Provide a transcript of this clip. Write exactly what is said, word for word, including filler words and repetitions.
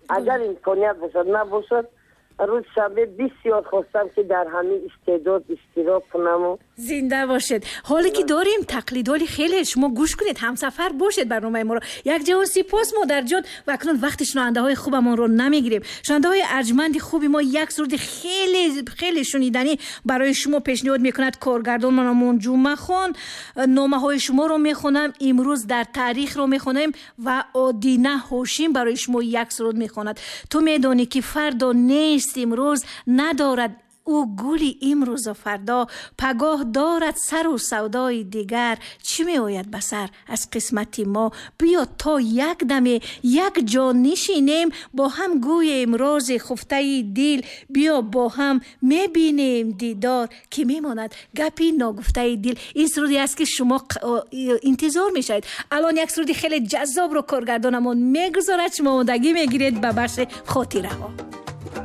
Агар имконият бошад, набошад, рӯз шанбе бисёр хостам, ки дар ҳамин истеъдод иштирок кунаму. Зинда бошед. Ҳоле ки дорем тақлидоли хеле шумо гӯш кунед, ҳамсафар бошед барномаи моро. Як ҷавон сипос, модарҷон. Ва акнун вақти шунавандаҳои хубамонро намегирем. Шунавандаҳои арҷманди хуби мо, як суруди хеле хеле шуниданӣ барои шумо пешниҳод мекунад коргардонмонамон Ҷумъахон. Номаҳои шуморо мехонам, имрӯз дар таърихро мехонем ва Одина Ҳошим барои шумо як суруд мехонад. Ту медонӣ, ки фардо нест, имрӯз надорад ӯ гули имрӯзу фардо, пагоҳ дорад сару савдои дигар, чӣ меояд ба сар аз қисмати мо. Биё то як даме як ҷо нишинем, бо ҳам гӯем рози хуфтаи дил, биё бо ҳам мебинем дидор, ки мемонад гапи ногуфтаи дил. Ин суруде аст, ки шумо интизор мешавед. Алон як суруди хеле ҷаззобро коргардонамон мегузорад, шумо омодагӣ мегиред ба бахши хотираҳо.